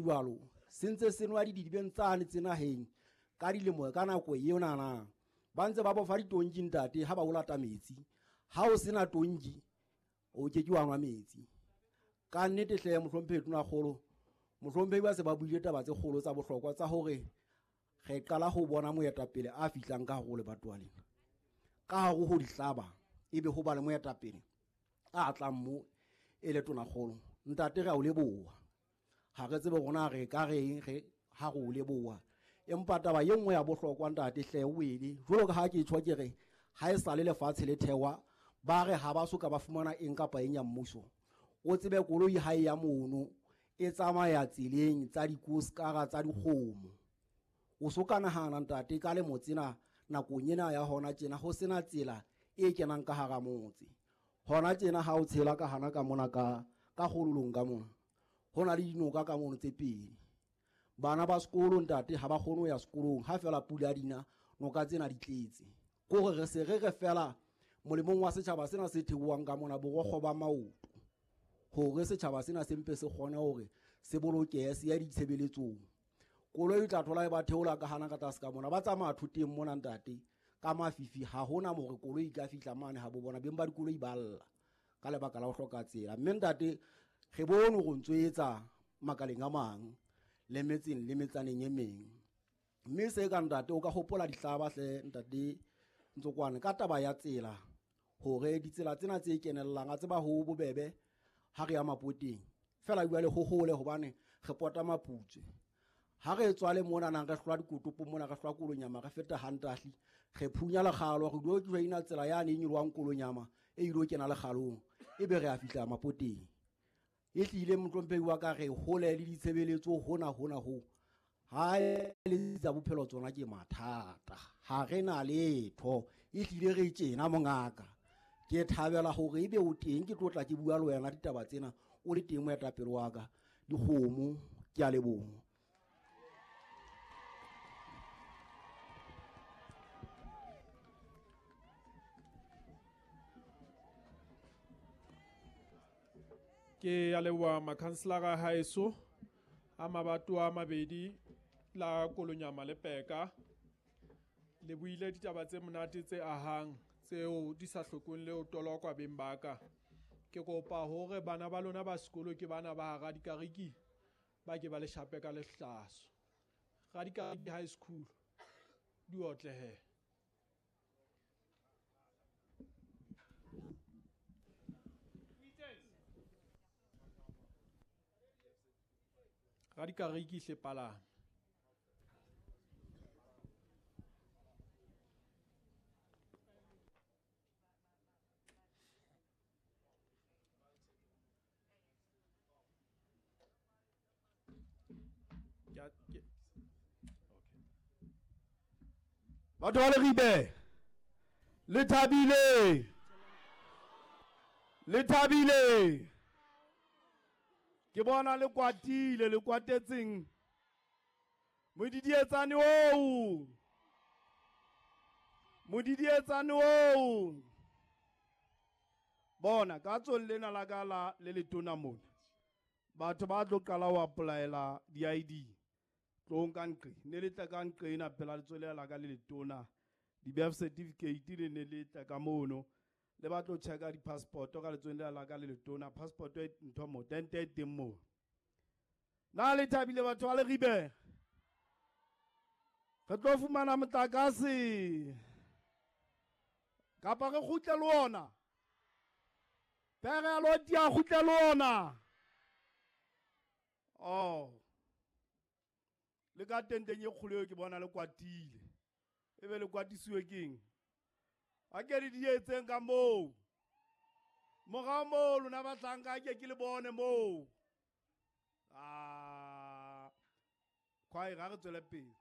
jwalo se ntse se nwa didibeng tsane tse naheng ka dilemo ka nako eo nana ba ntse ba bofa ditonki ntate ha ba o lata metsi. Ha o sena tonki o ke ke wa nwa metsi. Ka nnete hle mohlomphehi tonakgolo, mohlomphehi ba se ba buile taba tse kgolo tsa bohlokwa tsa hore re qala ho bona moetapele a fihlang ka hare ho lebatowa lena. Ka hare ho dihlaba ebe ho ba le moetapele a tlang mo e le tonakgolo. Ntate re a o leboha. Ha re tsebe rona re ka reng re ha re o leboha. Empa taba ye nngwe ya bohlokwa ntate hle o ele jwalo ka ha ke tjho ke re ha e sale lefatshe le thewa ba re ha ba soka ba fumana eng kapa eng ya mmuso. O tsebe koloi ha e ya mono e tsamaya tseleng tsa dikoskara tsa dikgomo. O so ka nahana ntate ka lemo tsena nakong ena ya hona tjena ho sena tsela e kenang ka hara motse. Hona tjena ha o tshela ka hana ka mona ka kgololong ka mona ho na le dinoka ka mono tse pedi. Bana ba sekolo ntate ha ba kgone ho ya sekolong ha fela pula dina noka tsena di tletse. Kore re se re re fela molemong wa setjhaba sena se theohang ka mona borokgo ba maoto hore setjhaba sena se mpe se kgone hore se bolokehe se ya ditshebeletsong. Koloi o tla thola e ba theola ka hana ka tlase ka mona ba tsamaya thoteng mona ntate ka mafifi ha hona hore koloi e ka fihla mane ha bo bona beng ba dikoloi ba lla ka lebaka la ho hloka tsela. Mme ntate re bone hore ntso etsa makaleng a mang le metseng le metsaneng e meng. Mme se ka ntate o ka hopola dihlaba hle ntate Ntsokwane ka taba ya tsela hore ditsela tsena tse kenellang a tseba ho bobebe ha re ya mapoteng fela jwale ho hole hobane re pota Maputswe. Ha re tswale mona nang re hlwa dikotopo mona re hlwa Kolonyama re feta Hantahli re phunya lekgalo re dilo joina tsela yane e nyolwang Kolonyama e ilo kena lekgalong ebe re a fihla mapoteng. E hlile mohlomphehi wa ka re hole le ditshebeletso hona hona ho ha le tsa bophelo tsona ke mathata ha re na letho. E hlile re tjena mongaka ke thabela hore ebe o teng ke tlotla ke bua le wena ditaba tsena o le teng moetapele wa ka. Dikgomo ke a leboha. Ke a leboha makhanselara haeso a mabatowa a mabedi la Kolonyama le Peka. Le buile ditaba tse monate tse ahang tseo di sa hlokong le ho tolokwa beng ba ka. Ke kopa hore bana ba lona ba sekolo ke bana ba hara dikariki ba ke ba le shape ka lehlaso. Radikariki High School di otlehe. Radikariki hle palame. Batho ba Leribe le thabile, le thabile. Ke bona le kwatile, le kwatetseng modidietsane oo, modidietsane oo. Bona ka tsong lena la ka la le letona mona batho ba tlo qala ho applyela di-ID tlong ka nqe ne le tla ka nqe ena phela letswele la ka le letona di-birth certificate le ne le tla ka mono le ba tlo checka di-passport ka letswele la ka le letona passport e ntho mo tente e teng mo. Na le thabile batho ba Leribe? Re tlo fumana motlakase kapa re kgutle le ona? Pere ya loti ya kgutle le ona? Oh, le ka tenteng e kgolo eo ke bona le kwatile. Ebe le kwatisiwe keng? A ke le di etseng ka moo. Morao moo lona bahlanka ke ke le bone moo. Ah, kwae ga re tswele pele.